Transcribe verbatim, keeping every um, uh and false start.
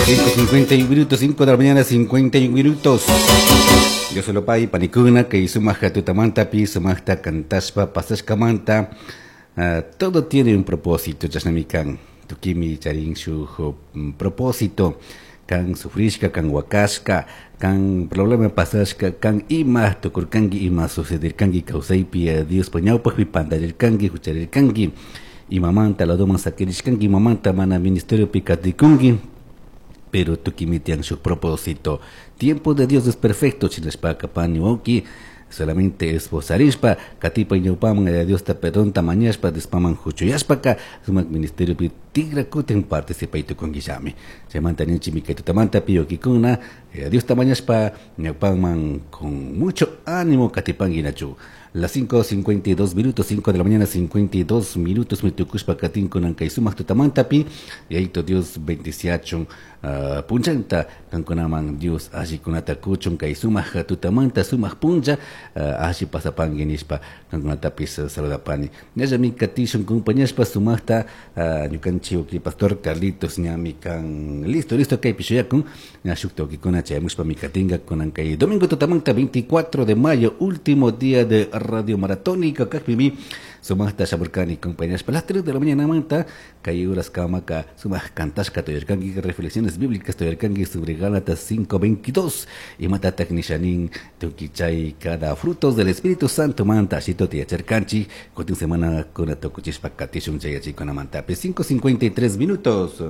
Cinco cincuenta y un minutos, cinco de la mañana, cincuenta y un minutos. Dios solo pai panikuna kay sumaq tutamantapi sumaqta kantashpa pasashkamanta. Uh, todo tiene un propósito, chashnami kan tukimi charin shuk propósito, kan sufrishka, kan wakashka, kan problema pasashka, kan ima tukurkanki, ima sucederkanki kawsaypi, Diospa ñawpaqpi pantarirkanki, hucharirkanki, imamanta ladoman sakirishkanki, imamanta mana ministeriopi katikunki, pero tukimi tiyan shuk propósito. Tiempo de Dios es perfecto, chinashpaka pani wawki, solamente esforzarishpa katipa ñawpaman Yaya Diosta perdonta mañashpa Diospaman huchuyashpaka sumak ministeriopi tigra kutin participay tukunkillami. Chaymanta ninchimi kay tutamanta wawkikuna Yaya Diosta mañashpa ñawpaman con mucho ánimo katipanki nachu. Las cinco cincuenta y dos minutos, cinco de la mañana, cincuenta y dos minutos, mi tukushpa katinkunan kay sumak tutamantapi, Yayito Dios bendiciachun, uh, punchanta, kankunaman Dios allikunata kuchun kay sumak tutamanta, sumak puncha, uh, alli pasapanki nishpa, kankunatapis saludapani. Ñallami katishun compañashpa sumakta, uh, ñukanchik wawki pastor Carlitos ñami kan listo, listo kaypi shuyakun, ña shukta wawkikuna chayamushpa mi katinka kunan kay domingo tutamanta veinticuatro de mayo, último día de Radio Maratónica kakpimi sumaqta shamurkani compañeras las tres de la mañana manta kay horas kamaka sumaq kantashka tuyarkanki reflexiones bíblicas tuyarkanki sobre Gálatas cinco veintidós imatataq nishanin tukichay cada frutos del Espíritu Santo manta ashito tiyacharkanchik kutin semana kuna tukuchishpa katishun chay yachaykuna mantapi cinco cincuenta y tres minutos.